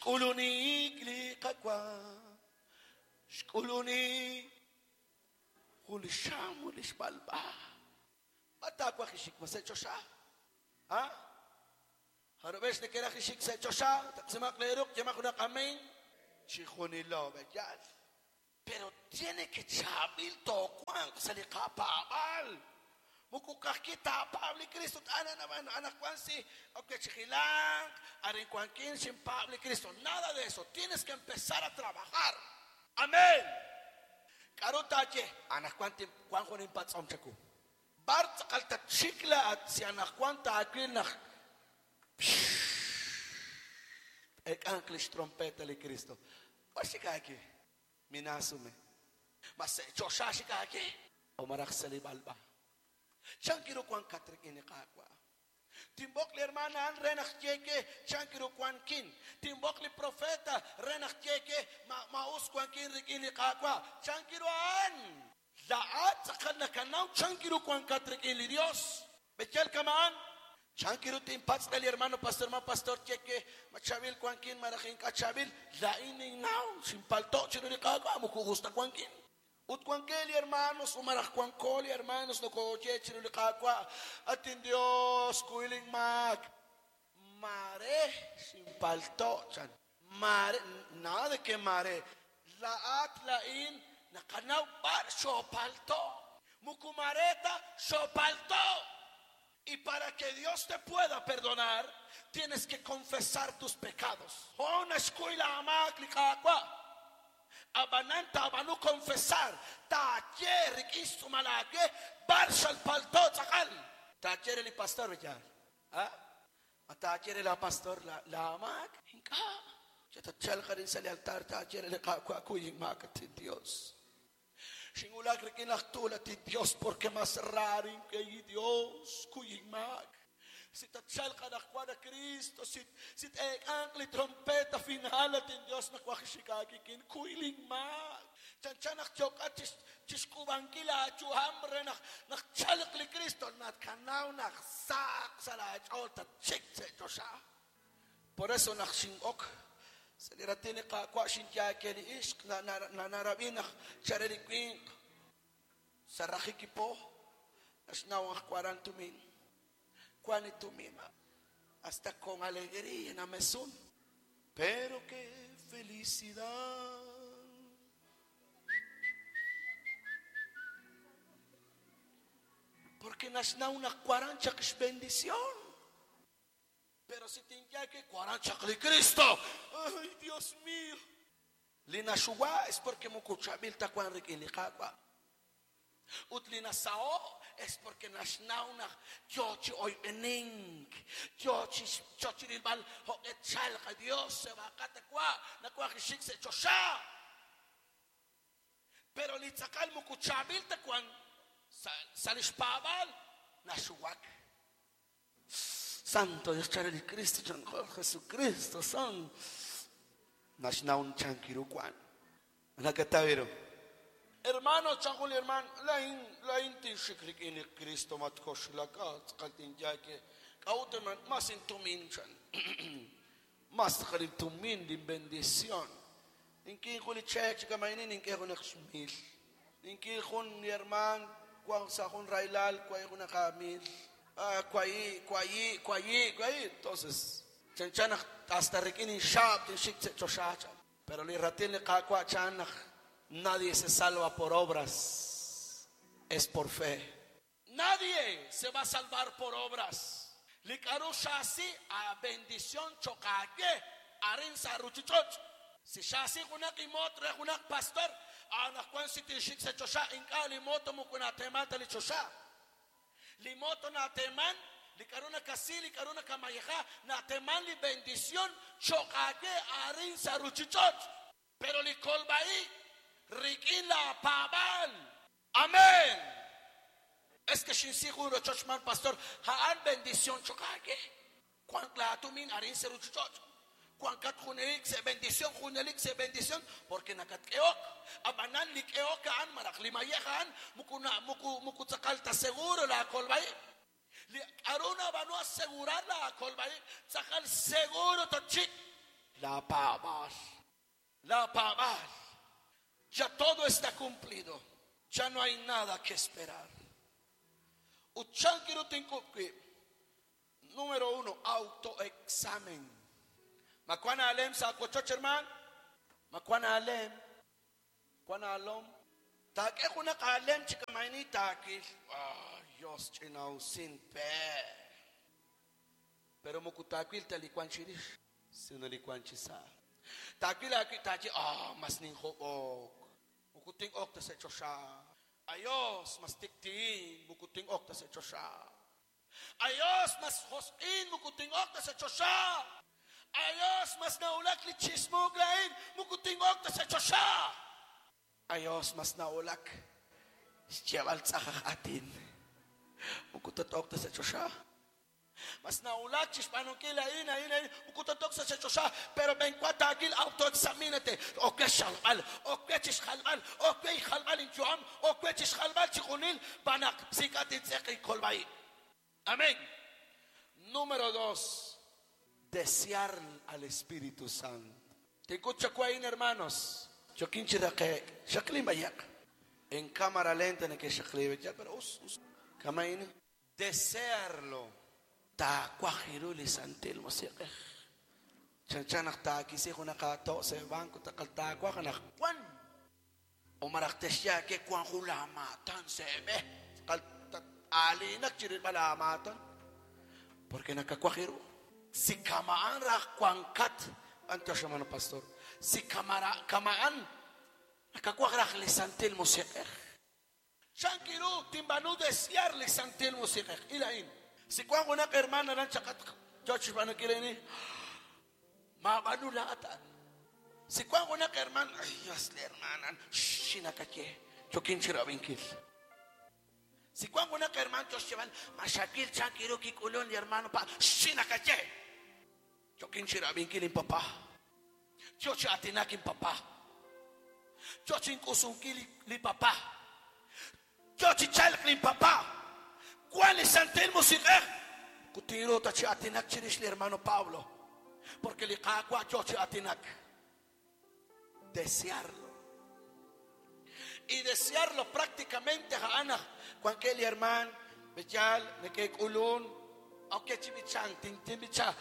Xk'ulunik li Qaawa', xk'ulunik jun li xam ut li xb'alb'a. B'ar taawaj ixik ma sa' choxa? Ha? Jarub'ex nekeraj ixik sa' choxa? Taqsimaq leeruq', yemaq junaq amén. Chijunilo b'eyal. Pero tiene que chaab'il toowanq sa' li qapaab'aal. Moko ka'ajwi' taapaab' li Kristo, anaqwan si ok chi jilanq, arin wankin xinpaab' li Kristo. Nada de eso. Tienes que empezar a trabajar. Amén. K'aru taaye? Anaqwan wank jun inpatz'om chawu. B'ar tz'aqal tatxik laa'at si anaqwan taawil naq t-eek'anq li xtrompeta li Kristo? B'ar xik aawe? Minaasume. Ma sa' choxa xik aawe o malaj sa' li b'alb'a? Chank ru wankat rik'in li Qaawa'? Tinb'oq li hermaan a'an re naq tye we chank ru wankin. Tinb'oq li profeta re naq tye we ma ma us wankin rik'in li Qaawa'. Chank ru a'an? Laa'at tz'aqal nakanaw chank ru wankat rik'in li Dios. B'eyal kama'an? Chank ru tinpatz' re li hermano pastor ma pastor tye we ma chaab'il wankin malaj ink'a' chaab'il? Laa'in ninnaw xinpalto' chiru li Qaawa' moko us ta wankin. Ut wankeb' li hermanos u malaj wanko li hermanos nokooye chiru li Qaawa', At inDios, kuy linmaak. Maare xinpalto' chan. Maare, nada de que maare. Laa'at, laa'in naqanaw b'ar xoopalto'. Moko maare ta xoopalto'. Y para que Dios te pueda perdonar, tienes que confesar tus pecados. Jo' naxkuy laamaak li Qaawa'. Ab'anan taab'aanu confesar, taaye rik'in xtz'uumal aawe b'ar xalpalto' tz'aqal. Taaye re li pastor, yaal. A? Ma taaye re laapastor laamaak? Ink'a'. Chi tatchalq arin sa' li altar taaye re li Qaawa' kuy inmaak, at inDios. Xinwulak rik'in laj tuul, at inDios, porque mas ra rink'e Dios, kuy inmaak. Si tatchalq anaqwan a Cristo, si si t-eek'anq li trompeta final, at inDios, nawaj xik aawik'in, kuy linmaak. Chanchan naq yookat chixk'uub'ankil aayu'am re naq naq tchalq li Cristo, nakanaw naq sahaq sa' laach'ool tatxik sa' choxa. Por eso naq xin'ok sa' li raatin li Qaawa' xinyaake li ixq narab'i naq chare li winq sa' raqik li po naxnaw naq waran tumin. Wank li tumin hasta con alegría namesun. Pero qué felicidad. Porque naxnaw naq waran chaq xbendición. Pero si tinye que waran chaq li Cristo. Ay, Dios mío. Li naxuwa es porque moko chaab'il ta wank rik'in li Qaawa'. Ut li nasaho' es porque naxnaw naq yo chi oyb'enink, yo chi yo chi rilb'al jo'q'e tchalq a Dios seb'aaqat wa' nawaj xik sa' choxa. Pero li tz'aqal moko chaab'il ta wank sa' li xpaab'aal naxuwak. Santo Dios chare li Cristo chan Jesucristo san naxnaw chank ru wank. Nakataw ru. Hermano, chan jun li hermaan, laa'in laa'in tinxik rik'in li Cristo matkoxlak, ah tz'aqal tinyaake. K'a'ut hermaan? Mas intumin chan. Mas tz'aqal intumin linbendición. Nink'in jun li cheek chi kama'inin nink'e junaq xmil. Nink'in jun li hermaan wank sa' jun rahilal wahi' junaq aamil. Ah, wahi', wahi', wahi', wahi'. Entonces, chanchan naq hasta rik'in inxaab' tinxik sa' choxa chan. Pero li raatin li Qaawa' chan naq nadie se salva por obras, es por fe. Nadie se va a salvar por obras. Li k'aru xaasi a bendición cho'q aawe arin sa' ruuchich'och'. Si xaasi junaq imoot re junaq pastor, anaqwan si tinxik sa' choxa, ink'a' li moto moko nateeman ta li choxa. Li moto nateeman li k'aru nakasi, li k'aru nakamayeja, nateeman li bendición cho'q aawe arin sa' ruuchich'och'. Pero li kolb'a-ib' rik'in laapaab'aal. Amén. Es que xinsi jun rochoch man pastor, a'an bendición cho'q aawe. Wank laatumin arin sa' ruuchich'och'. Wankat junelik sa' bendición, junelik sa' bendición, porque nakatk'ehok. Ab'anan li k'ehok a'an malaj li mayej a'an moko na moko moko tz'aqal ta seguro laakolb'a-ib'. Li k'aru nab'aanu asegurar laakolb'a-ib' tz'aqal seguro tatxik. Laapaab'aal. Laapaab'aal. Ya todo está cumplido. Ya no hay nada que esperar. Ut chank ru tink'ub' wib'? Número 1, autoexamen. Ma wank aalem sa' aawochoch, hermaan? Ma wank aalem? Wank aalom? Taak'e junaq aalem chi kama'ini taawil. Ah, Dios ch'ina'usin pe. Pero moko taawil ta li wank chirix, sino li wank chi sa'. Taawil aawib' taaye, ah, mas ninjob'ok. Moko tin'ok ta sa' choxa. Ayos, mas tikti'in, moko tin'ok ta sa' choxa. Ayos, mas josq'in, moko tin'ok ta sa' choxa. Ayos, mas nawulak li chismook laa'in, moko tin'ok ta sa' choxa. Ayos, mas nawulak xyeeb'al tz'aj aj aatin, moko tat'ok ta sa' choxa. Mas nawulak chi xb'aanunkil a'in, a'in, a'in, moko tatok sa' choxa, pero b'enwa taawil autoexamínate. Ok we xjalb'al, ok we chi xjalb'al, ok we xjalb'al inyu'am, ok we chi xjalb'al chixjunil, xb'aan naq ink'a' tintz'eq inkolb'a-ib'. Amén. Número 2, desear al Espíritu Santo. Tink'ut chawu a'in, hermanos. Yookin chi raqe'k. Xaqlin b'ayaq. En cámara lenta neke'xaqli, ya, pero us, us. Kama'in. Desearlo. Taawaj ru li Santil Musiq'ej. Chanchan naq taakisi junaq aato' sa' banco, taqal taawaj naq wan. O malaj texye aawe wan jun laamaatan sa' b'e. Taqal aalinak chi rilb'al aamaatan. Porque nakawaj ru. Si kama'an raj wankat, b'antiox, hermano pastor. Si kama'an nakawaj raj li Santil Musiq'ej. Chank ru tinb'aanu desear li Santil Musiq'ej. Il a'in. Si wank junaq hermano aran chaqat yo chi xb'aanunkil a'in, maab'aanu laa'at a'an. Si wank junaq hermano, ay Dios, li hermana, xinakaye, yookin chi rab'inkil. Si wank junaq hermano yo xyeeb'al, ma xawil chank ru kik'ulun li hermano pa, xinakaye. Yookin chi rab'inkil inpapá. Yo chi aatinak inpapá. Yo chi ink'usunkil li papá. Yo chi chalk linpapá. Wan li Santil Musiq'ej. Kutinru ta chi aatinak chirix li hermano Pablo. Porque li Qaawa' yo chi aatinak. Desearlo. Y desearlo prácticamente a'an naq wankeb' li hermaan b'eyal neke'k'ulun ok chi b'ichank tinb'icha.